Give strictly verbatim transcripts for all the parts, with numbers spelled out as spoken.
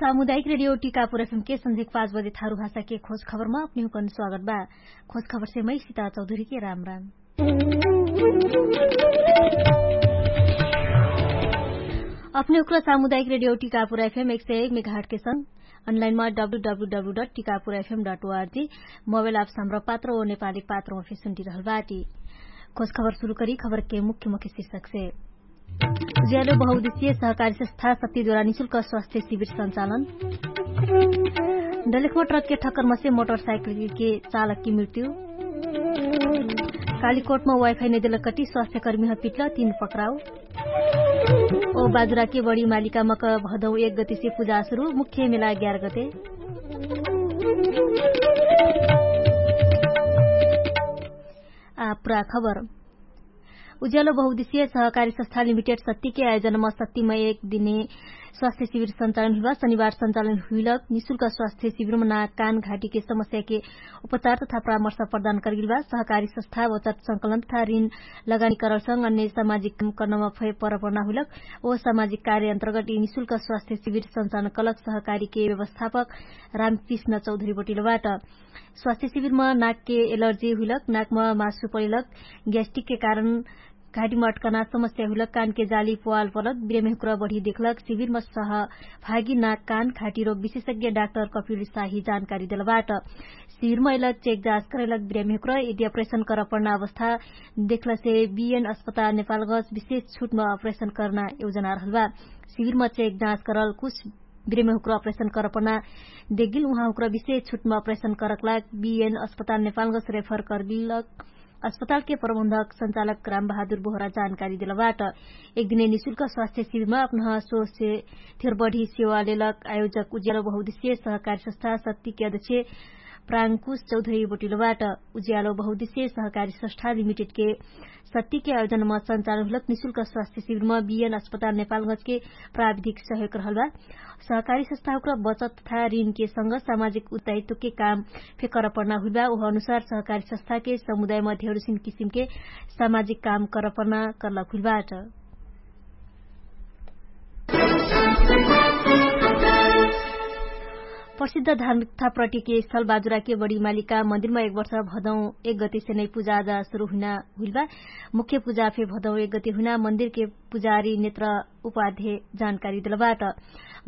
सामुदायिक रेडियो टिकापुर एफएम के संझेक पाँच बजे थारु भाषा के खोज खबरमा अपने हुकन स्वागत बा। खोज खबर से मै सिता चौधरी के राम राम। अपने हुक्र सामुदायिक रेडियो टिकापुर एफएम एक सय एक मेघाट के संग अनलाइनमा W W W dot Tikapur एफएम डट ओआरजी मोबाइल एप्स हमरा पात्र ओ नेपाली पात्र ओफे सुन्टी रहल बाटी। खोज खबर सुरु करी खबर के मुख्य मुख्य शीर्षक से। उज्यालो बहुउद्देश्य सहकारी संस्था शक्तिद्वारा निशुल्क स्वास्थ्य शिविर सञ्चालन। डलेखमा ट्रक के ठक्कर मसे मोटरसाइकिल के चालक की मृत्यु। कालीकोटमा वाइफाई नैदेल कटी स्वास्थ्यकर्मी ह पिटल तीन पक्राउ। ओ बाजुरा के बडी मालिका मक भदौ एक गतिसे पुजा सुरु मुख्य मेला ग्यार गते। आ पुरा खबर। उज्यालो बहुउद्देश्य सहकारी संस्था लिमिटेड सत्ती के आयोजनमा सत्तीमा एक दिने स्वास्थ्य शिविर सञ्चालन हुइबा शनिबार सञ्चालन हुइलक निशुल्क स्वास्थ्य शिविरमा नाक कान घाटीके समस्याके उपचार तथा परामर्श प्रदान करगिलबा सहकारी संस्था बचत संकलन तथा ऋण लगानी करलसँग अन्य सामाजिक कर्णमा फै परपना हुइलक ओ सामाजिक कार्य अन्तर्गत यि निशुल्क स्वास्थ्य शिविर सञ्चालन कलक सहकारीके व्यवस्थापक रामकृष्ण चौधरी बटिलबाट। स्वास्थ्य शिविरमा नाकके एलर्जी हुइलक नाकमा मासु परिलक ग्यास्टिकके कारण घाटीमा अट्कना समस्या हुइलक कानके जाली पोवाल परलक बिरेमेहुक्र बढी देखलक शिविरमा सह भागी नाक कान घाटी रोग विशेषज्ञ डाक्टर कपिल साही जानकारी देलबाट। शिविरमा अइलक चेक जाँच करैलक बिरेमेहुक्र यदि अप्रेसन करपर्ना अवस्था देखलसे बिएन अस्पताल नेपालगज विशेष छुटमा अप्रेसन करना योजना रहलबा। शिविरमा चेक जाँच करल कुछ बिरेमे हुक्र अप्रेसन करपना देगिल उहाँ हुक्र विशेष छुटमा अप्रेसन करकलाग बिएन अस्पताल नेपालगस रेफर करबिलक अस्पतालके प्रबन्धक सञ्चालक रामबहादुर बोहरा जानकारी देलबाट। एक दिने निशुल्क स्वास्थ्य शिविरमा अपनह सोसे थेरबढी सेवालेलक आयोजक उज्यालो बहुउद्देश्य सहकारी संस्था सत्तीके अध्यक्ष प्राङ्कुश चौधरी बोटिलोबाट। उज्यालो बहुउद्देश्य सहकारी संस्था लिमिटेडके सत्तीके आयोजनमा सञ्चालन हुलक निशुल्क स्वास्थ्य शिविरमा बिएन अस्पताल नेपालगजके प्राविधिक सहयोग रहलबा। सहकारी संस्थाहुक्र बचत तथा ऋणके संग सामाजिक उत्ताहित्वके काम फेकर पर्ना हुइबा उह अनुसार सहकारी संस्थाके समुदायमा धेरुसिन किसिमके सामाजिक काम करपर्ना करलक हुइलबाट। प्रसिद्ध धार्मिक तथा प्रटिके स्थल बाजुराके बडी मालिका मन्दिरमा एक वर्ष भदौ एक गतिसे नै पुजा आजा सुरु हुइना हुइलबा। मुख्य पुजा फे भदौ एक गति हुइना मन्दिरके पुजारी नेत्र उपाध्य जानकारी देलबाट।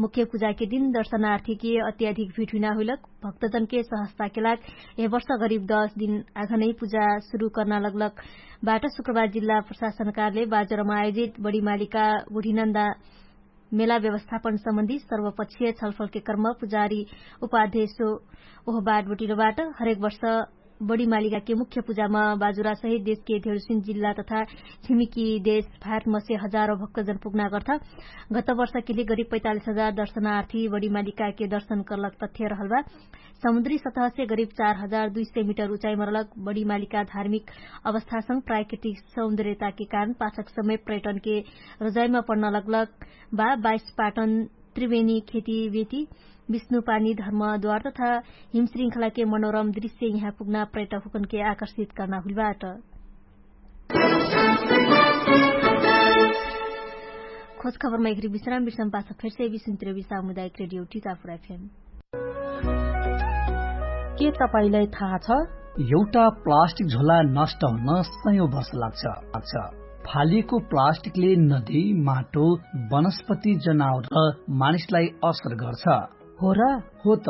मुख्य पुजाके दिन दर्शनार्थीके अत्याधिक भिड हुइना हुइलक भक्तजनके सहस्ताके लाग यह वर्ष गरिब दस दिन आघनै पुजा सुरु कर्ना लगलक बाट शुक्रबार जिल्ला प्रशासनकारले बाजरमा आयोजित बडी मालिका बुढिनन्दा मेला व्यवस्थापन सम्बन्धी सर्वपक्षीय छलफलके कर्म पुजारी उपाध्यक्ष ओह बाटबटिलोबाट हरेक वर्ष बडी मालिकाके मुख्य पुजामा बाजुरासहित देशके धेरुसिन जिल्ला तथा छिमिकी देश भारतमसे हजारौ भक्तजन पुग्ना गर्था। गत वर्षके लिए गरिब पैतालिस हजार दर्शनार्थी बडी मालिकाके दर्शन कर्लक तथ्य रहलबा। समुद्री सतहसे गरिब चार हजार दुई सय मिटर उचाइमा रहलक बडी मालिका धार्मिक अवस्थासँग प्राकृतिक सौन्दर्यताके कारण पाछक समय पर्यटनके रोजाइमा पढ्न लगलक बा बाइस पाटन त्रिवेणी खेती बेती विष्णुपानी धर्मद्वार तथा हिमशृङ्खलाके मनोरम दृश्य यहाँ पुग्ना पर्यटक हुकनके आकर्षित कर्ना हुइलबाट। खोज खबरमा एकरी विश्राम विश्राम पाछ फेरसे विश्राम त्रिवी सामुदायिक रेडियो टिकापुर एफएम। के तपाईंलाई थाहा छ? एउटा प्लास्टिक झोला नष्ट हुन सयौं वर्ष लाग्छ। फालिएको प्लास्टिकले नदी, माटो, वनस्पति, जनावर र मानिसलाई असर गर्छ। हो र? हो त।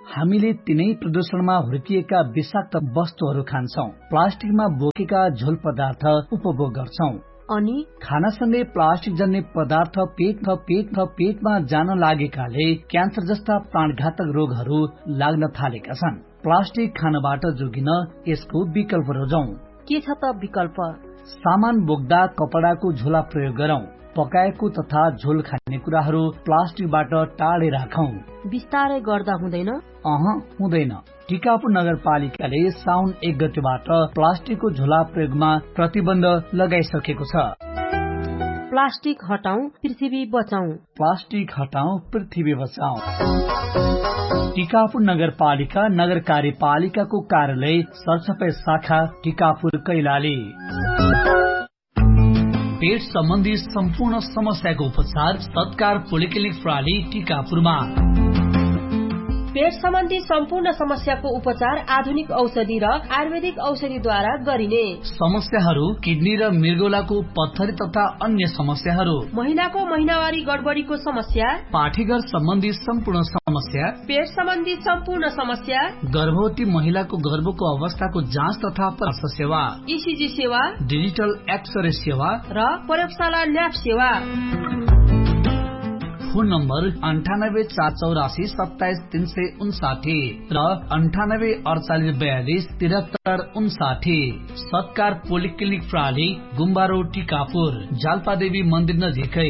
हामीले तिनै प्रदूषणमा हुर्किएका विषाक्त वस्तुहरू खान्छौं, प्लास्टिकमा बोकेका झोल पदार्थ उपभोग गर्छौं। अनि खानासँगै प्लास्टिक जन्ने पदार्थ पेट पेट पेटमा जान लागेकाले क्यान्सर जस्ता प्राणघातक रोगहरू लाग्न थालेका छन्। प्लास्टिक खानबाट जोगिन यसको विकल्प रोजौं। के छ त विकल्प? सामान बोक्दा कपडाको झोला प्रयोग गरौं। पकाएको तथा झोल खाने कुराहरू प्लास्टिकबाट टाढै राखौं। बिस्तारै गर्दा हुँदैन? अह, हुँदैन। टिकापुर नगरपालिकाले साउन एक गतिबाट प्लास्टिकको झोला प्रयोगमा प्रतिबन्ध लगाइसकेको छ। प्लास्टिक हटाउँ, पृथ्वी बचाउँ। प्लास्टिक हटाउँ, पृथ्वी बचाउँ। टिकापुर नगरपालिका नगर कार्यपालिकाको कार्यालय सरसफाई शाखा टिकापुर कैलाली। पेट सम्बन्धी सम्पूर्ण समस्याको उपचार सत्कार पोलिक्लिनिक प्रणाली टिकापुरमा। पेट सम्बन्धी सम्पूर्ण समस्याको उपचार आधुनिक औषधि र आयुर्वेदिक औषधिद्वारा गरिने। समस्याहरू किडनी र मृगौलाको पत्थरी तथा अन्य समस्याहरू, महिलाको महिनावारी गडबडीको समस्या, पाठीघर सम्बन्धी सम्पूर्ण समस्या, पेट सम्बन्धी सम्पूर्ण समस्या, गर्भवती महिलाको गर्भको अवस्थाको जाँच तथा परामर्श सेवा, इसिजी सेवा, डिजिटल एक्सरे सेवा र प्रयोगशाला ल्याब सेवा। फोन नम्बर अन्ठानब्बे चार चौरासी सत्ताइस तीन सय उन्साठी र अन्ठानब्बे अडचालिस बयालिस तिरहत्तर उन्साठी। सत्कार पोलिक्लिनिक प्राली गुम्बारो टिकापुर, जालपादेवी मन्दिर नजिकै।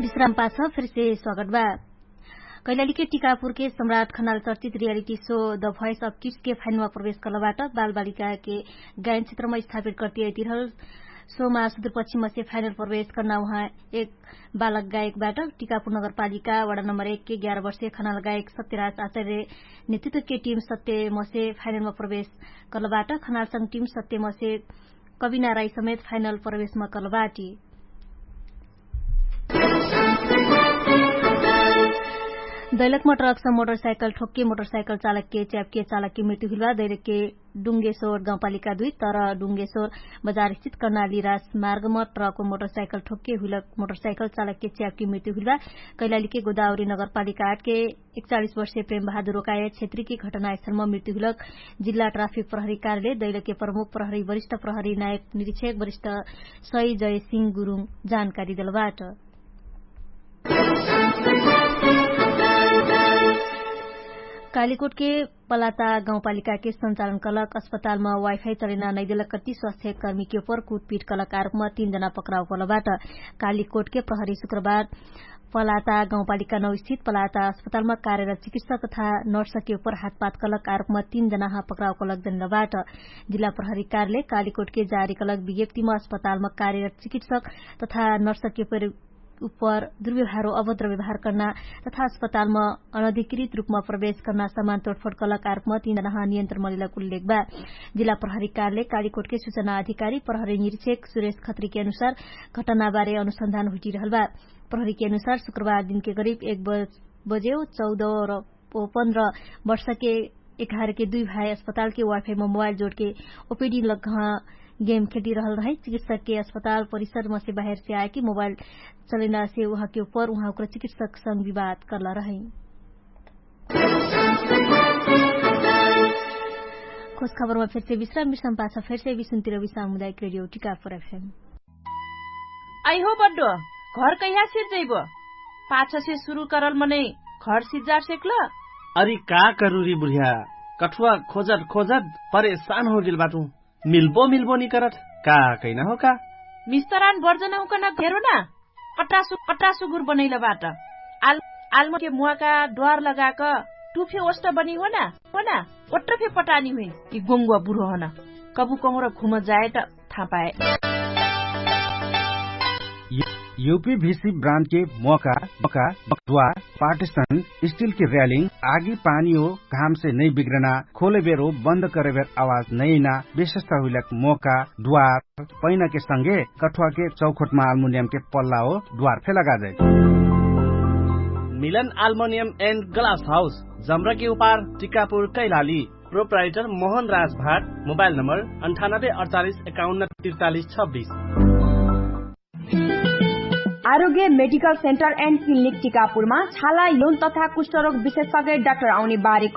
विश्राम पाछ फेरसे स्वागत बा। कैलालीके टिकापुरके सम्राट खनाल चर्चित reality so the voice of किड्सके फाइनलमा प्रवेश कर्लबाट बालबालिकाके गायन क्षेत्रमा स्थापित कर्तियाइ तिरहल सोमा सुदूरपश्चिमसे फाइनल प्रवेश कर्ना उहाँ एक बालक गायकबाट। टिकापुर नगरपालिका वडा नम्बर एकके ग्यार वर्षे खनाल गायक सत्यराज आचार्य नेतृत्वके टिम सत्यमसे फाइनलमा प्रवेश कर्लबाट। खनालसँग टिम सत्यमसे कविना राई समेत फाइनल प्रवेशमा कर्लबाटी। दैलकमा ट्रकसँ मोटरसाइकल ठोक्के मोटरसाइकल चालकके च्यापके चालकके मृत्यु हुइलबा दैलकके डुङ्गेश्वर गाउँपालिका दुई तर डुङ्गेश्वर बजारस्थित कर्णाली राजमार्गमा ट्रकमा मोटरसाइकल ठोक्के हुइलक मोटरसाइकल चालकके च्यापके मृत्यु हुइलबा। कैलालीके गोदावरी नगरपालिका आठके एकचालिस वर्षे प्रेम बहादुर रोकाय क्षेत्रीके घटनास्थलमा मृत्यु हुइलक जिल्ला ट्राफिक प्रहरी कार्यालय दैलके प्रमुख प्रहरी वरिष्ठ प्रहरी नायक निरीक्षक वरिष्ठ सही जय सिंह गुरुङ जानकारी देलबाट। कालीकोटके पलाता गाउँपालिकाके सञ्चालन कलक अस्पतालमा वाइफाइ चलेना नैदेलक कति स्वास्थ्य कर्मीके उपर कुटपिट कलक आरोपमा तीन जना पक्राउ कलबाट। कालीकोटके प्रहरी शुक्रबार पलाता गाउँपालिका नौ स्थित पलाता अस्पतालमा कार्यरत चिकित्सक तथा नर्सके उपर हातपात कलक आरोपमा तीन जना पक्राउ कलक जनलबाट। जिल्ला प्रहरी कार्यालय कालीकोटके जारी कलक विज्ञप्तिमा अस्पतालमा कार्यरत चिकित्सक तथा नर्सके उपर दुर्व्यवहारो अभद्र व्यवहार कर्ना तथा अस्पतालमा अनधिकृत रूपमा प्रवेश कर्ना समान तोडफोड कलक आरोपमा तीन जना नियन्त्रण मलिलक उल्लेख बा। जिल्ला प्रहरी कार्यालय कालीकोटके सूचना अधिकारी प्रहरी निरीक्षक सुरेश खत्रीके अनुसार घटनाबारे अनुसन्धान हुइटिरहल बा। प्रहरीके अनुसार शुक्रबार दिनके करिब एक बजे चौध र पन्ध्र वर्षके एघारके दुई भाइ अस्पतालके वाइफाइमा मोबाइल जोडके ओपिडी लग्घा गेम खेटिरहल रहै। चिकित्सकके अस्पताल परिसरमसे बाहेरसे आएके मोबाइल चलेनासे उहाँके उपर उहाँके चिकित्सकसँग विवाद कर्ला रहै। खोज खबरमा फेरसे विश्राम विश्राम पाछ फेरसे विश्राम तिरवी सामुदायिक रेडियो टिकापुर एफएम। आइहो बड्डो, घर कैहा सिर्जैबो? पाछसे सुरु करल मनै घर सिर्जार सेक्ल? अरि का करुरी बुढिया, कठुवा खोजत खोजत परेशान होगेल बाटु। मिल्बो मिल्बो निकरत का कैना हो का? मिस्तरान बर्जन हुकन भेरो ना? कट्रासु कट्रासुगुर बनैल बाट। आल आलमके मुवाका ड्वार लगाक टुफे ओष्ट बनी हो ना? हो ना? ओट्ट फे पटानी हुइन कि गोङ्गुवा बुढो हन। कबु कहुँर घुम जाए त थाहा पाए। युपी भिसी ब्रान्डके मोका मोका बक्वा पार्टिसन स्टिलके र्यालिङ आगी पानी हो घामसे नै बिग्रना खोले बेरो बन्द करे बेर आवाज नैना विशेषता हुइलक मोका द्वार पैनाके संगे कठुवाके चौखोटमा आल्मुनियमके पल्ला हो द्वार फे लगाजै। मिलन आल्मुनियम एन्ड ग्लास हाउस जम्रके उपार टिकापुर कैलाली। प्रोप्राइटर मोहन राज भाट। मोबाइल नम्बर अन्ठानब्बे अडचालिस एकाउन्न तिर्चालिस छब्बिस। आरोग्य मेडिकल सेन्टर एन्ड क्लिनिक टिकापुरमा छाला यौन तथा कुष्ठरोग विशेषज्ञ डाक्टर आउने बारेको